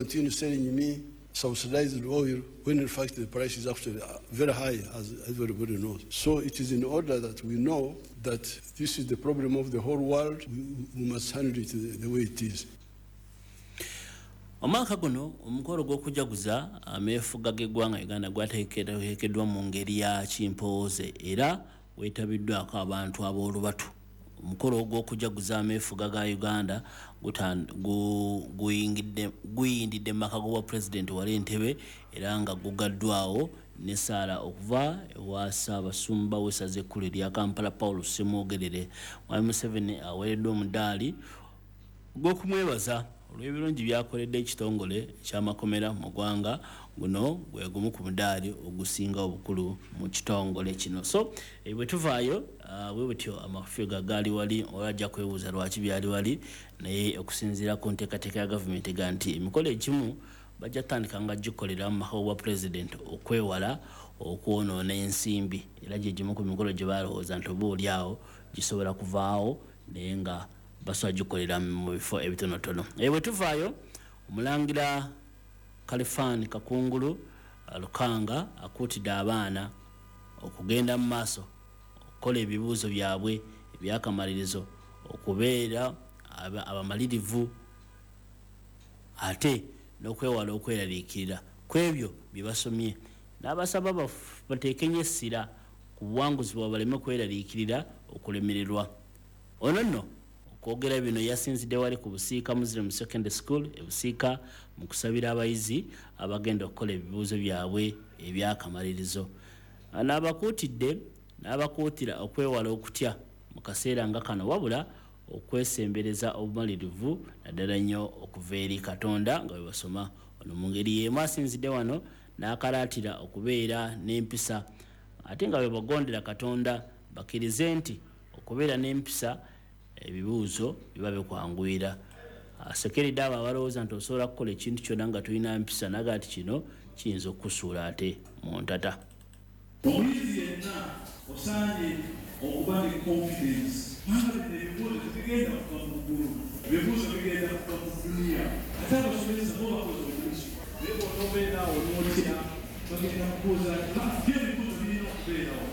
Continue selling me subsidized oil when in fact the price is actually very high, as everybody knows. So it is in order that we know that this is the problem of the whole world. We must handle it the way it is. Omwaka guno omukolo gw'okujaguza ameefuga g'eggwanga Uganda gwateekeddwa mu ngeri ya kimpooze era weetabiddwako abantu ab'olubatu. Omukolo gw'okujaguza ameefuga ga Uganda guyindidde mu maka g'obwa pulezidenti wali Entebbe era nga gugaddwawo n'essaala okuva ewa Ssaabasumba w'essaza ekkulu erya Kampala Paul Ssemwogerere. Mwami Museveni aweereddwa omudaali gw'okumwebaza olw'ebirungi by'akoledde ekitongole eky'amakomera mu ggwanga. Guno gwe gumu ku mudaali ogusinga obukulu mu kitongole kino. So bwe tuvaayo bwe butyo amafuga gaali wali, olajja kwebuuza lwaki byali wali, naye okusinziira ku nteekateeka ya gavumenti ega nti emikolo egimu bajja kutandika nga gikolera mu maka gwa pulezidenti okwewala okwonoona ensimbi, era gye gimu ku mikolo gye balowooza nti oba oli awo gisobola kuvaawo naye nga basobola gikolera mu bifo ebitonotono. Bwe tuvaayo, omulangira Kalifani Kakungulu Lukanga akuutidde abaana okugenda mu maaso okukola ebibuuzo byabwe ebyakamalirizo, okubeera abamalirivu ate n'okwewala okweraliikirira ku ebyo bye basomye, n'abasaba bateeke nnyo essira ku buwanguzi bwabwe baleme kweraliikirira okulemererwa. Ono nno okwogera bino yasinzidde wali ku Busiika Muslim Secondary School e Busiika mu kusabira abayizi abagenda okukola ebibuuzo byabwe ebyakamalirizo. N'abakuutidde n'abakuutira okwewala okutya mu kaseera nga kano, wabula okwesembereza obumalirivu naddala nnyo okuva eri Katonda nga bwe basoma. Ono mu ngeri y'emu asinzidde wano n'akalaatira okubeera n'empisa ate nga bwe bagondera Katonda bakkirize nti okubeera n'empisa ebibuuzo biba bikwanguyira. Asekeredde abo abalowooza nti osobola kukola ekintu kyonna nga tolina mpisa, naga nti kino kiyinza okukusuula ate mu ntata. Omuyizi yenna osaanye okuba ne confidence, kubanga bino ebibuuzo tebigenda kuva mu ggulu, ebibuuzo bigenda kuva mu duniya, ate abasomesa bo bakoze omulimu. Naye bw'onobeera awo n'otya, bagenda kubuuza nti ebibuuzo birina okubeerawo.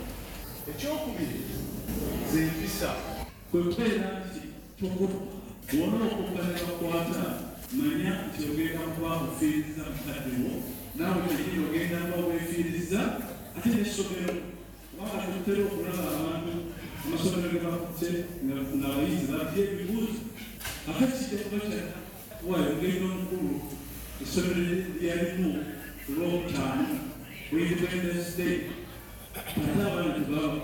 Ekyokubiri ze mpisa, kwe kubeera nti tokoppa. Bw'onookoppa ne bakwata, manya nti ogenda kuba ofiiriza mukadde wo, naawe kennyini ogenda kuba weefiiriza, ate n'essomero, kubanga tutera okulaba abantu amasomero ge bakutte ng'abayizi batya ebibuuzo. Ate kijja kuba kyakuwaayo ogenda omukulu essomero lyalimu ku Lwokutaano ku Independence Day, ate abaana tebaba.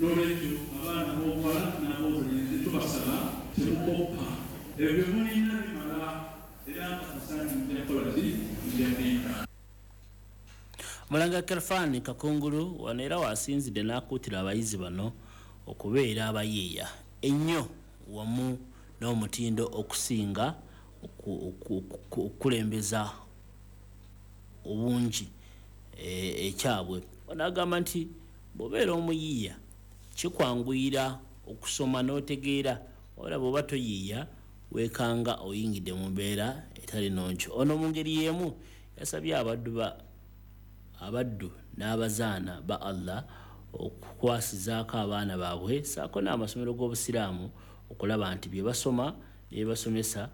N'olwekyo abaana b'obuwala n'ab'obulenzi tubasaba temukoppa, ebyo mulina bimala, era nkakasa nti mujja kukola ki, mujja kuyita. Omulangira Kalifani Kakungulu wano era wasinzidde n'akuutira abayizi bano okubeera abayiiya ennyo wamu n'omutindo okusinga okukulembeza obungi ekyabwe. Ono agamba nti bw'obeera omuyiiya kikwanguyira okusoma n'otegeera, wabula bw'oba toyiiya weekanga oyingidde mu mbeera etali nnungi. Ono mu ngeri y'emu yasabye abaddu n'abazaana ba Allah okukwasizaako abaana baabwe ssaako n'amasomero g'Obusiraamu okulaba nti bye basoma ne bye basomesa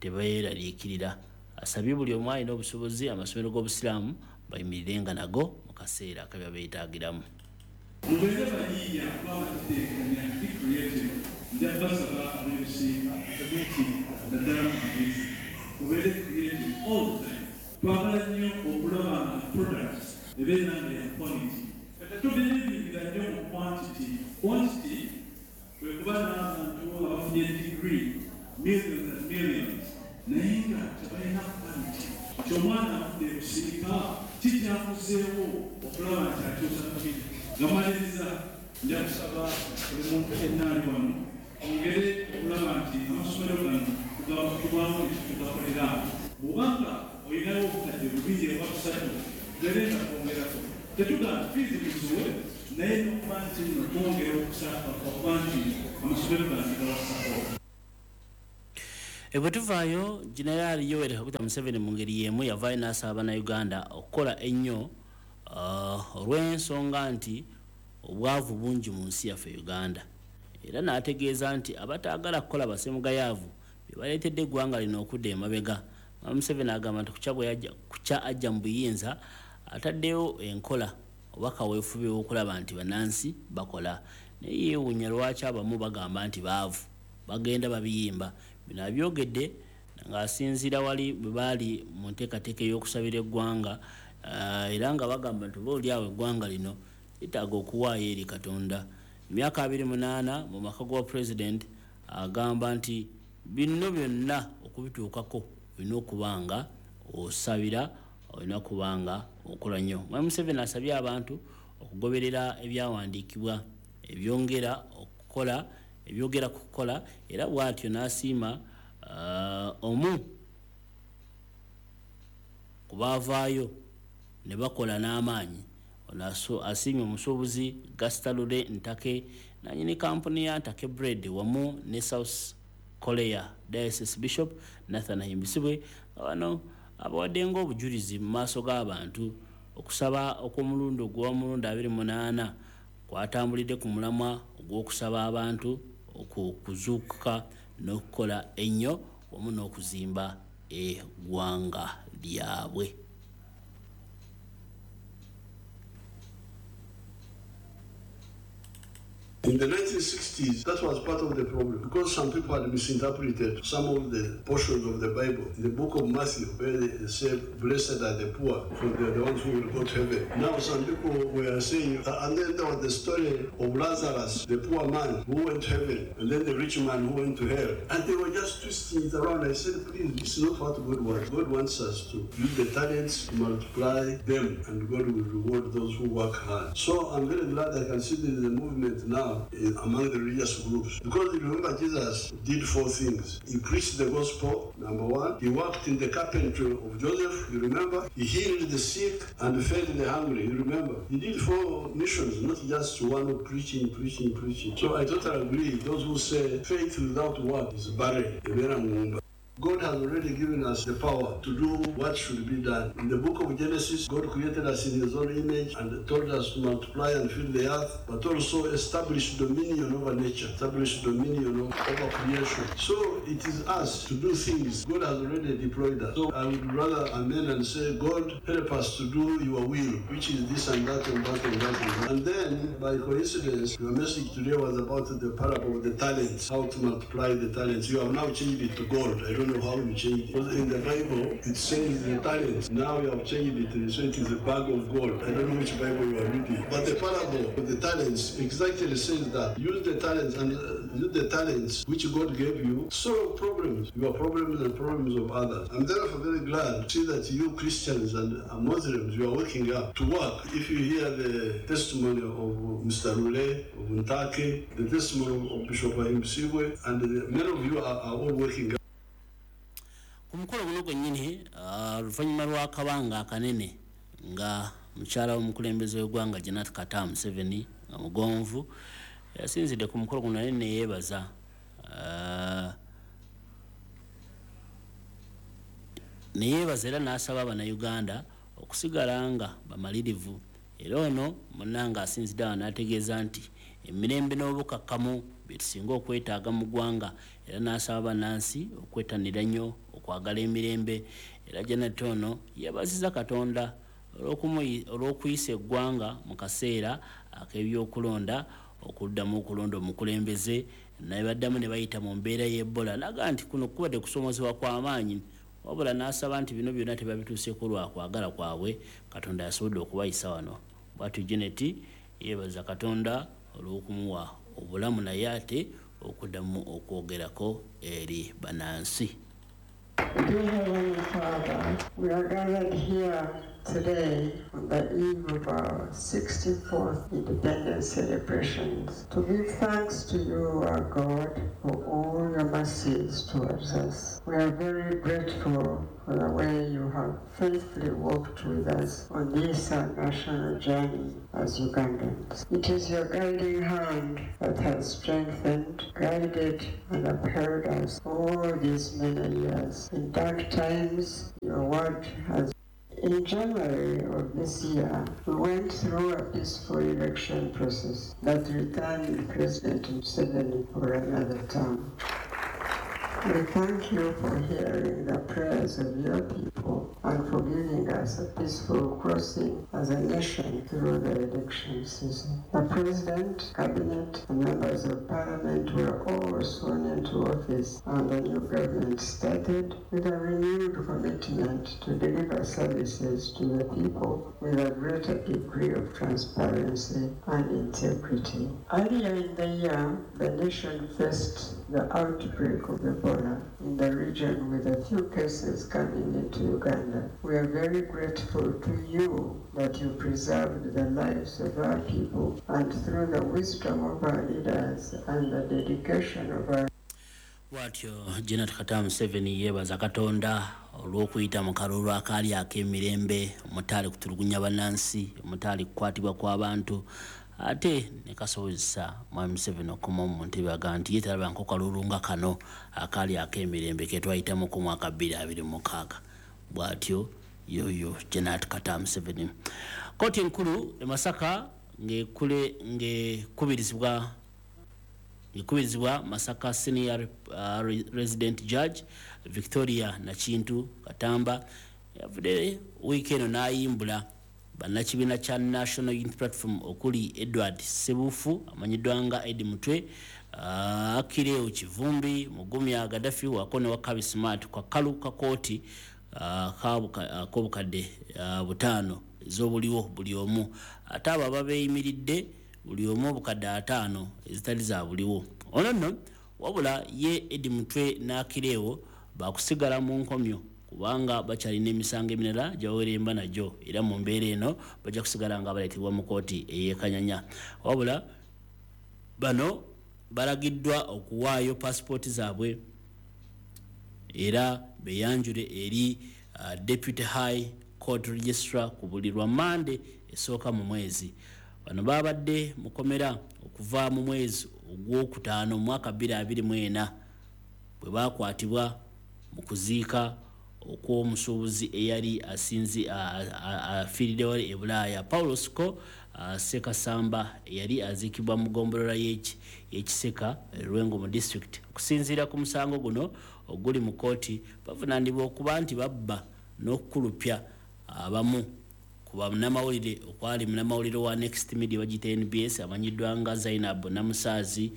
tebeeraliikirira. Asabye buli omu alina obusobozi amasomero g'Obusiraamu bayimirirenga nago mu kaseera akabiba beetaagiramu. Mubeere bayiiya kubanga tuteekanya, be creative. Nja basaba ab'Ebusiika community, naddala mu magezi, mubeere creative all the time. Twagala nnyo okulaba nga products ebeera nga ya quality. Tetubelievingira nnyo mu quantity. Quantity kwe kuba n'abantu abafunye degree, millions and millions, naye nga tebalina quality. Nti omwana avudde Ebusiika kikyakuzeewo okulaba nti akyusa community. Nga maliriza, nja kusaba buli muntu yenna ali wano ongere okulaba nti amasomero gano tubaamu ekitugakolera. Bw'obanga olinawo obukadde 2 oba 3, tubeere nga twongerako. Tetugamba fiizi muziwe, naye n'okuba nti nno twongera okusaba okuba nti amasomero gano gawa support. Bwe tuvaayo, Generaali Yoweri Kaguta Museveni mu ngeri y'emu yavaayo n'asaba Bannayuganda okukola ennyo olw'ensonga nti obwavu bungi mu nsi yaffe Uganda, era n'ategeeza nti abataagala kukola basemugayaavu be baleetedde eggwanga lino okudda emabega. Museveni agamba nti kukya ajja mu buyinza ataddeyo enkola oba kaweefube w'okulaba nti bannansi bakola, naye yeewuunya lwaki abamu bagamba nti baavu bagenda babiyimba. Bino abyogedde ng'asinziira wali bwe baali mu nteekateeka ey'okusabira eggwanga, era nga bagamba nti oba oli awo eggwanga lino lyetaaga okuwaayo eri Katonda. Emyaka 28 mu maka gwa Pulezidenti agamba nti bino byonna okubituukako olina okuba nga osabira, olina okuba nga okola nnyo. Mwami Museveni asabye abantu okugoberera ebyawandiikibwa ebyongera okukola, ebyogera ku kukola, era bw'atyo n'asiima omu ku baavaayo ne bakola n'amaanyi. Ono asiimye omusuubuzi Gasita Lule Ntake, nannyini kampuni ya Ntake Bread, wamu ne South Korea Diocese Bishop Nathan Ahimbisibwe, bano abawadde ng'obujulizi mu maaso g'abantu. Okusaba okw'omulundi ogw'omulundi 28 kwatambulidde ku mulamwa ogw'okusaba abantu okuzuukuka n'okukola ennyo wamu n'okuzimba eggwanga lyabwe. In the 1960s, that was part of the problem, because some people had misinterpreted some of the portions of the Bible. In the book of Matthew, where they say, blessed are the poor, for they are the ones who will go to heaven. Now some people were saying, and then there was the story of Lazarus, the poor man who went to heaven, and then the rich man who went to hell. And they were just twisting it around. I said, please, this is not what God wants. God wants us to use the talents, multiply them, and God will reward those who work hard. So I'm very glad I can see the movement now among the religious groups. Because you remember, Jesus did four things. He preached the gospel, number one. He worked in the carpentry of Joseph, you remember. He healed the sick and fed the hungry, you remember. He did four missions, not just one of preaching, preaching, preaching. So I totally agree. Those who say faith without work is barren. God has already given us the power to do what should be done. In the book of Genesis, God created us in his own image and told us to multiply and fill the earth, but also establish dominion over nature, establish dominion over creation. So it is us to do things. God has already deployed us. So I would rather amen and say, God, help us to do your will, which is this and that and that and that. And that. And then, by coincidence, your message today was about the parable of the talents, how to multiply the talents. You have now changed it to gold. I don't know how you change it. Because in the Bible, it says the talents. Now you have changed it, so it is a bag of gold. I don't know which Bible you are reading. But the parable of the talents exactly says that. Use the talents and use the talents which God gave you, solve problems, your problems and problems of others. I'm therefore very glad to see that you Christians and Muslims, you are waking up to work. If you hear the testimony of Mr. Lule, of Ntake, the testimony of Bishop Ahimbisibwe, and many of you are all waking up. Ku mukolo guno gwennyini, oluvannyuma lw'akabanga akanene nga mukyala w'omukulembeze w'eggwanga Janet Kataaha Museveni nga mugonvu, yasinzidde ku mukolo guno naye neyeebaza era n'asaba Bannayuganda okusigala nga bamalirivu. Era ono munnange asinzidde awo n'ategeeza nti emirembe n'obukakkamu bye tusinga okwetaaga mu ggwanga, era n'asaba bannansi okwettanira nnyo okwagala emirembe. Era Janet ono yeebaziza Katonda olw'okuyisa eggwanga mu kaseera ak'ebyokulonda okuddamu okulonda omukulembeze, naye baddamu ne bayita mu mbeera y'Ebola, n'agamba nti kuno kubadde kusoomozebwa kw'amaanyi, wabula n'asaba nti bino byonna tebabituuseeko lwa kwagala kwabwe, Katonda yasobodde okubayisa wano. Bw'atyo Janet yeebaza Katonda olw'okumuwa obulamu naye ate okuddamu okwogerako eri bannansi. Dear Heavenly Father, we are gathered here Today, on the eve of our 64th independence celebrations, to give thanks to you, our God, for all your mercies towards us. We are very grateful for the way you have faithfully walked with us on this our national journey as Ugandans. It is your guiding hand that has strengthened, guided, and upheld us all these many years. In dark times, your word has. In January of this year, we went through a peaceful election process that returned President Museveni for another term. We thank you for hearing the prayers of your people and for giving us a peaceful crossing as a nation through the election season. The President, Cabinet, and members of Parliament were all sworn into office, and the new government started with a renewed commitment to deliver services to the people with a greater degree of transparency and integrity. Earlier in the year, the nation faced the outbreak of Ebola in the region, with a few cases coming into Uganda. We are very grateful to you that you preserved the lives of our people, and through the wisdom of our leaders and the dedication of our Bwatyo Janet Kataha Museveni yeebaza Katonda olw'okuyita mu kalulu akaali ak'emirembe omutaali kutulugunya bannansi, omutaali kukwatibwa kw'abantu, ate ne kasobozesa Mwami Museveni okukomawo mu ntebe. Aga nti ye talabanko kalulu nga kano akaali ak'emirembe ke twayitamu ku mwaka 2026. Bw'atyo yoyo Janet Kataha Museveni. Kkooti enkulu e Masaka ng'ekubirizibwa Masaka Senior Resident Judge Victoria Nakintu Katamba yavudde wiiki eno n'ayimbula bannakibiina kya National Unity Platform okuli Edward Sebufu amanyiddwa nga Eddie Mutwe, Akireo Kivumbi, Mugumya Gaddafi wako ne Wakabi Smart kwa kalu ka kooti ak'obukadde 5 ez'obuliwo buli omu, ate abo ababeeyimiridde buli omu obukadde 5 ezitali za buliwo. Ono nno wabula ye Eddie Mutwe n'Akireo bakusigala mu nkomyo kubanga bakyalina emisango emirala gyabaweremba nagyo, era mu mbeera eno bajja kusigala nga baleetebwa mu kooti ey'e Kanyanya. Wabula bano balagiddwa okuwaayo pasipooti zaabwe era beyanjule eri Deputy High Court Registrar ku buli lwa Mande esooka mu mwezi. Bano babadde mukomera okuva mu mwezi ogwokutaano mu mwaka 2024 bwe bakwatibwa mu kuziika okw'omusuubuzi eyali asinzi afiiriddewo e Bulaaya, Paulo Siko Ssekasamba, eyali aziikibwa mu ggombolola y'e Kiseka, Lwengo mu district. Okusinziira ku musango guno oguli mu kooti, bavunaanibwa okuba nti babba n'okukulupya abamu ku bannamawulire, okwali munnamawulire wa Next Media bagiyita NBS amanyiddwa nga Zainab Namusaazi,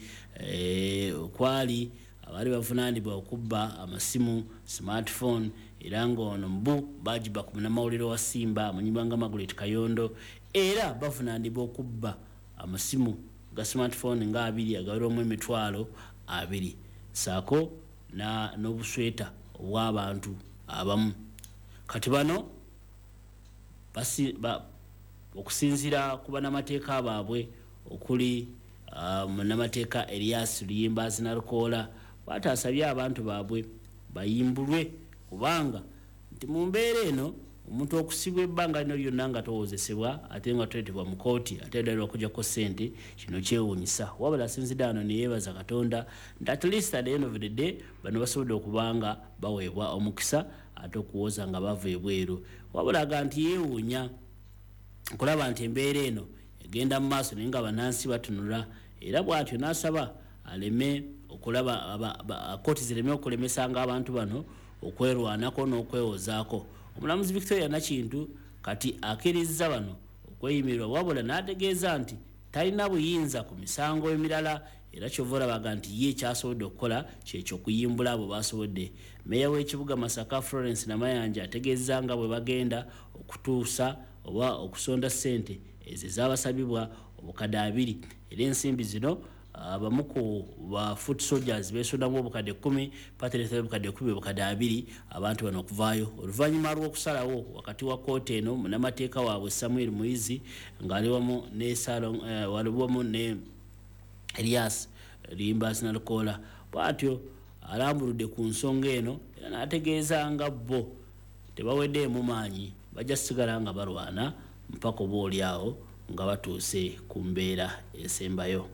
okwali abaali bavunaanibwa okubba amasimu smartphone, era ng'ono mbu bagiba ku munnamawulire wa Simba amanyibwa nga Margaret Kayondo. Era bavunaanibwa okubba amasimu ga smartphone nga 2 agawerwamu 20,000, saako n'obusweta obw'abantu abamu. Kati bano okusinziira ku bannamateeka baabwe okuli munnamateeka Elias Luyimbazi Nalukoola, bw'ati asabye abantu baabwe bayimbulwe, kubanga nti mu mbeera eno omuntu okusibwa ebbanga lino lyonna nga towozesebwa ate nga toleetebwa mu kooti ate ddala okuggyako ssente, kino kyewuunyisa. Wabula asinzidde wano ne yeebaza Katonda nti at least at the end of the day bano basobodde okuba nga baweebwa omukisa ate okuwoza nga bava ebweru. Wabula aga nti yeewuunya okulaba nti embeera eno egenda mu maaso naye nga bannansi batunula, era bw'atyo n'asaba aleme okulaba kooti zireme okulemesanga abantu bano okwerwanako n'okwewozaako. Omulamuzi Victoria Nakintu kati akkirizza bano okweyimirwa, wabula n'ategeeza nti talina buyinza ku misango emirala, era kyova olabaga nti ye kyasobodde okukola kyekyo okuyimbula abo basobodde. Meeya w'ekibuga Masaka Florence Namayanja ategeeza nga bwe bagenda okutuusa oba okusonda ssente ezo ezabasabibwa obukadde 20, era ensimbi zino Abamu ku ba foot soldiers besondamu obukadde 10, party leeta obukadde 10, obukadde 20, abantu bano okuvaayo oluvannyuma lw'okusalawo wakati wa kkooti eno. Munnamateeka waabwe Samuel Muyizi ng'ali wamu ne wali wamu ne Elias Limbasi Nalukoola bw'atyo alambuludde ku nsonga eno era n'ategeeza nga bo tebaweddeemu maanyi, bajja kusigala nga balwana mpaka oba oli awo nga batuuse ku mbeera esembayo.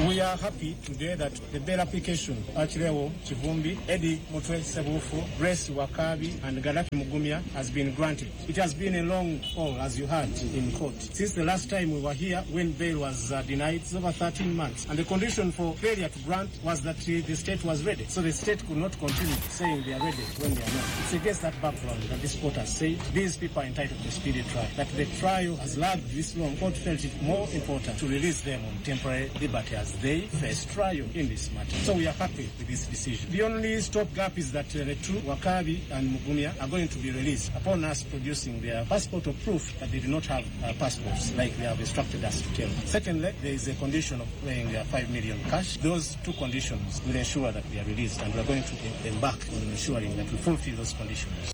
We are happy today that the bail application Achileo Kivumbi, Eddie Mutwe Sebufu, Grace Wakabi and Gaddafi Mugumya has been granted. It has been a long haul, as you heard in court. Since the last time we were here when bail was denied, it's over 13 months. And the condition for failure to grant was that the state was ready. So the state could not continue saying they are ready when they are not. It's against that background that this court has said these people are entitled to speedy trial. That the trial has lagged this long, court felt it more important to release them on temporary liberty as they face trial in this matter. So we are happy with this decision. The only stopgap is that the two, Wakabi and Mugumya, are going to be released upon us producing their passport or proof that they do not have passports like they have instructed us to tell. Secondly, there is a condition of paying 5 million cash. Those two conditions will ensure that they are released, and we are going to embark on ensuring that we fulfill those conditions.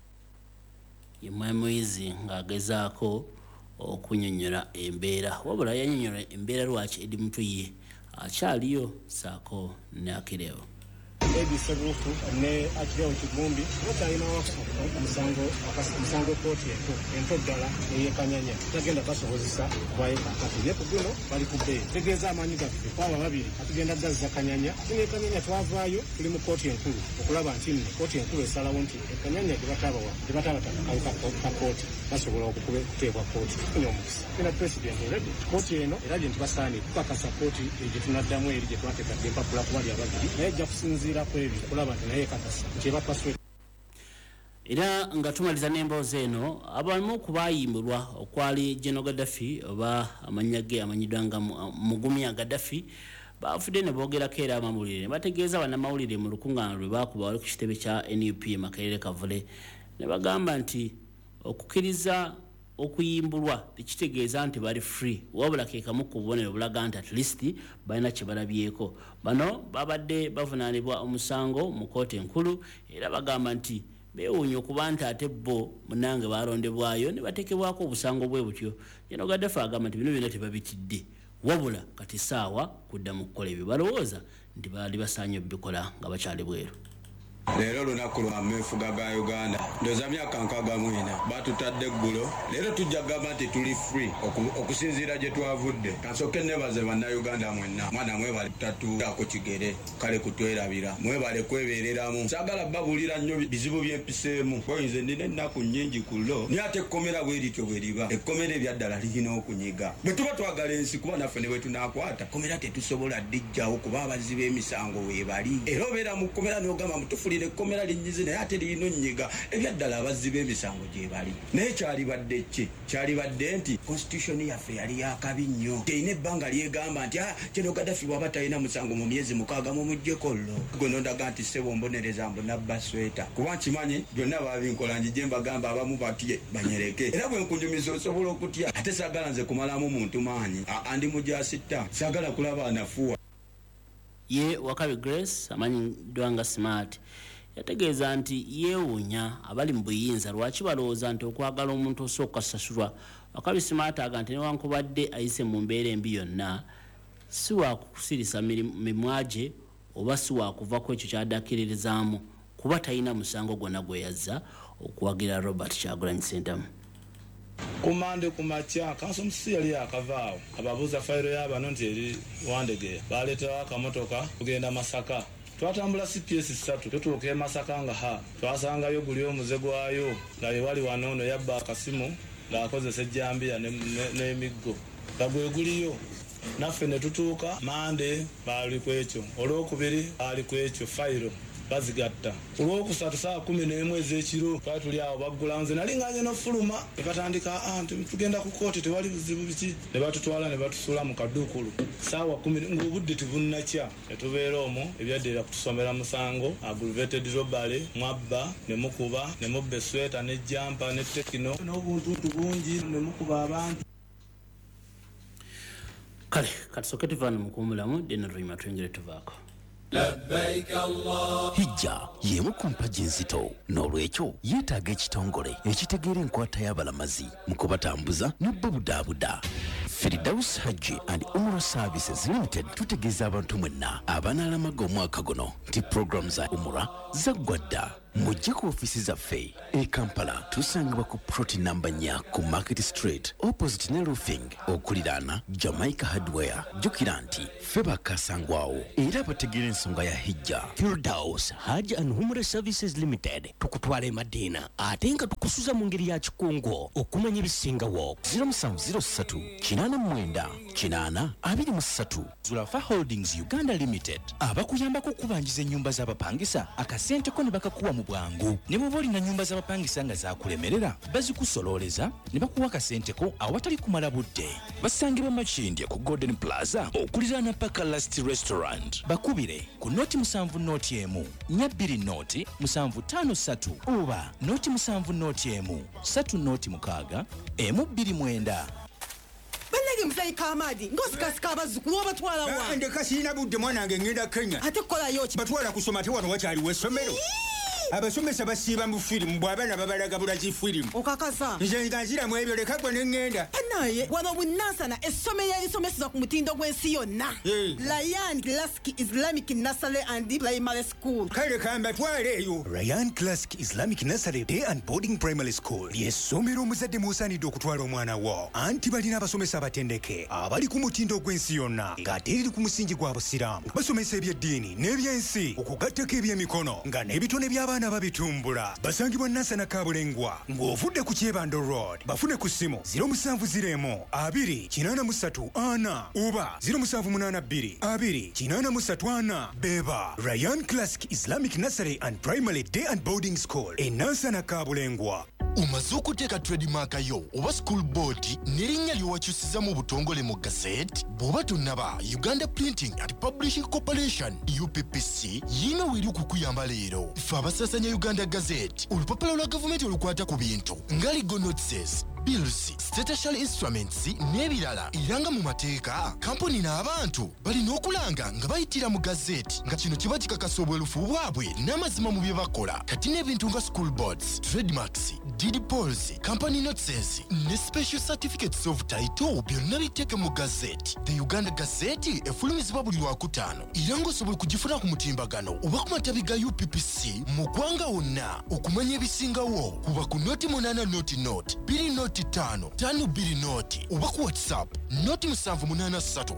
Ye Muyizi ng'agezaako okunyonnyola embeera, wabula yannyonnyola embeera lwaki Eddie Mutwe ye akyaliyo saako ne Achileo. Eddie Sebufu ne Achileo Kivumbi bakyalina omusango kkooti ento ddala ey'e Kanyanya tagenda basobozesa kubayo kaakati, naye ku guno bali ku bbeeyi. Tegeeza amaanyi gaffe kwaba babiri atugenda gazza Kanyanya, ate ne Kanyanya twavaayo tuli mu kkooti enkulu okulaba nti nno kkooti enkulu esalawo nti e Kanyanya gye bataabawa gye bataabataka ka kkooti basobola okuteebwa kkooti. Tufunye omukisa ina president already kkooti eno erabye nti basaanidde tukakasa kkooti gye tunaddamu eri gye twateekadde empapula kubali ababiri, naye ejja kusinziira ku ebyo okulaba nti naye ekakasa nti ebapaswe. Era nga tumaliza n'emboozi eno, abamu ku baayimbulwa okwali General Gaddafi oba amannya ge amanyiddwa nga Mugumya Gaddafi baafudde ne boogerako era amawulire ne bategeeza bannamawulire mu lukuŋŋaana lwe baakuba wali ku kitebe kya NUP e Makerere Kavule, ne bagamba nti okukkiriza okuyimbulwa tekitegeeza nti bali free, wabula ke kamu ku bubonero bulaga nti at least balina kye balabyeko. Bano babadde bavunaanibwa omusango mu kkooti enkulu era bagamba nti beewuunya okuba nti ate bo munnange balondebwayo ne bateekebwako obusango bwe butyo. General Gaddafi agamba nti bino byonna tebabitidde, wabula kati saawa kudda mu kukola ebyo balowooza nti baali basaanye obikola nga bakyali bweru. Leero lunaku lwa meefuga ga Uganda, ndowooza myaka 64 batutadde eggulo. Leero tujja kugamba nti tuli free okusinziira gye twavudde. Kansooke nebaze Bannayuganda mwenna, mwana mwebale tatuako kigere kale kutwerabira, mwebale kwebeereramu. Saagala babuulira nnyo bizibu byempiseemu, boyinze ndina ennaku nnyingi ku lo, naye ate ekkomera bwe lityo bwe liba ekkomera ebyaddala lirina okunyiga. Bwe tuba twagala ensi, kuba naffe ne bwe tunaakwata kkomera tetusobola ddijjawo, kuba abazzi b'emisango weebali. Era obeera mu kkomera n'ogamba mutufulire ekkomera linnyize, naye ate lirina onnyiga. Ebyaddala abazzi b'emisango gye bali. Naye kyalibadde ki? Kyalibadde nti constitution yaffe yali yakabi nnyo, terina ebbanga lyegamba nti kino Gaddafi bw'aba talina musango mu myezi 6 mumuggyeko llo. Gwe nondaga nti ssebo mbonereza mbu nabba sweta, kuba nkimanyi byonna babinkola, njije mbagamba abamu batye banyereke. Era bwe nkunyumiza osobola okutya, ate saagala nze kumalamu muntu maanyi andi mujasitta, saagala kulaba anafuwa. Ye Wakabi Grace amanyiddwa nga Smart yategeeza nti yeewuunya abali mu buyinza lwaki balowooza nti okwagala omuntu osooka sasulwa. Wakabi Smart aga nti newankubadde ayise mu mbeera embi yonna, si wakusirisa mimwa gye oba si wakuva ku ekyo kyadakkiririzaamu, kuba talina musango gwonna gwe yazza okuwagira Robert Kyagulanyi Ssentamu. Ku Mande ku makya kanso Musisi yali yakavaawo ababuuza fayiro y'abano nti eri Wandegeya, baleetawo akamotoka kugenda Masaka. Twatambula CPS 3 tutuuka e Masaka nga ha twasangayo guli omuze gwayo nga wali wano ono yabba akasimu ng'akozesa ejjambiya n'emiggo nga gwe guliyo. Naffe ne tutuuka Mande baali ku ekyo, Olwokubiri baali ku ekyo, fayiro bazigatta. Ku Lwokusatu saa 11 ez'ekiro twali tuli awo baggula, nze nali nganye n'ofuluma ne batandika nti tugenda ku kooti tewali buzibu biki, ne batutwala ne batusuula mu kaduukulu saawa 10 ng'obudde tebunnakya. Ne tubeera omwo ebyaddirira kutusomera musango aggravated robbery, mwabba ne mukuba ne mubba esweta ne jampa ne tekino n'obuntuntu bungi ne mukuba abantu. Kale katusooke tuvaano mu kuwummulamu, then oluvannyuma twengere tuvaako. Hijja y'emu ku mpagi enzito, n'olwekyo yeetaaga ekitongole ekitegeera enkwata y'abalamazi mu kubatambuza n'obubudaabuda. Firdaus Hajji and Umrah Services Limited tutegeeza abantu mwenna abanaalamaga omwaka guno nti puroguramu za Umrah zaggwa dda. Mujje ku ofiisi zaffe e Kampala, tusangibwa ku plot namba 4 ku Market Street, opposite ne Roofing, okuliraana Jamaica Hardware. Jjukira nti ffe bakasangwawo era bategeera ensonga ya hijja. Firdaus Hajj and Umrah Services Limited tukutwala e Madina ate nga tukusuza mu ngeri ya kikungu. Okumanya ebisingawo, 0703 89 80 23. Zulafa Holdings Uganda Limited abakuyambako okubanjiza ennyumba z'abapangisa, akasente ko ne bakakuwa mu bwangu. Ne bw'oba olina nnyumba z'abapangisa nga zakulemerera, bazikusololeza ne bakuwa akasente ko awatali kumala budde. Basangibwa Makindye ku Golden Plaza, okuliraana Paka Last Restaurant. Bakubire ku 070 1 4 20 753 oba 070 1 3 06 129. Bannange, muzeeyi Kamadi, ng'osikasika abazzukulu, obatwala wa? Ndeka, sirina budde. Mwana wange, ngenda Kenya. Ate kukolayo ki? Batwala kusoma. Ate wano wakyaliwo essomero? Abasomesa basiiba mu firimu, bw'abaana babalaga bulazi firimu. Okakasa? Nze nga nziramu ebyo, leka gwe ne ŋŋenda. Naye wano bunansana, essomero erisomeseza ku mutindo gw'ensi yonna, Ryan Classic Islamic Nursery and Primary School. Kale kambatwale eyo. Ryan Classic Islamic Nursery Day and Boarding Primary School ly'essomero omuzadde mw'osaanidde okutwala omwana wo, anti balina abasomesa abatendeke abali ku mutindo gw'ensi yonna, ng'ate eriri ku musingi gwa Busiraamu. Basomesa ebyeddiini n'ebyensi, okugattako ebyemikono, nga n'ebitone by'abaana babitumbula. Basangibwa Nansana Kabulengwa ng'ovudde ku Kyebando Road. Bafune ku ssimu 0701 2 83 4 oba 0782 2 83 4. Beba Ryan Classic Islamic Nursery and Primary Day and Boarding School e Nansana Kabulengwa. Omaze okuteeka trademark yo oba school board n'erinnya ly'owakyusiza mu butongole mu gazette? Bw'oba tonnaba, Uganda Printing and Publishing Corporation, UPPC, yiino weeri okukuyamba leero. Ffe abasaasanya Uganda Gazette, olupapula lwa gavumenti olukwata ku bintu nga legal notices, bills, statutory instruments n'ebirala. Era nga mu mateeka, kampuni n'abantu balina okulanga nga bayitira mu gazeti, nga kino kiba kikakasa obwerufu bwabwe n'amazima mu bye bakola. Kati n'ebintu nga school boards, trademarks, deed polls, company notices ne special certificates of title byonna biteeke mu gazeti. The Uganda Gazette efulumizibwa buli Lwakutaano, era ng'osobola okugifuna ku mutimbagano oba ku matabi ga UPPC mu ggwanga wonna. Okumanya ebisingawo, kuba ku 080 0 0 2 0 5 5 2 0 oba ku WhatsApp 078 314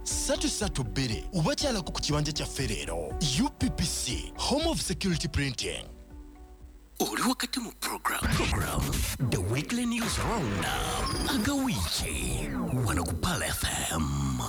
332 oba kyalako ku kibanja kyaffe leero. UPPC, home of security printing. Oli wakati mu program The Weekly News Roundup, agawiiki, wano ku Pearl FM.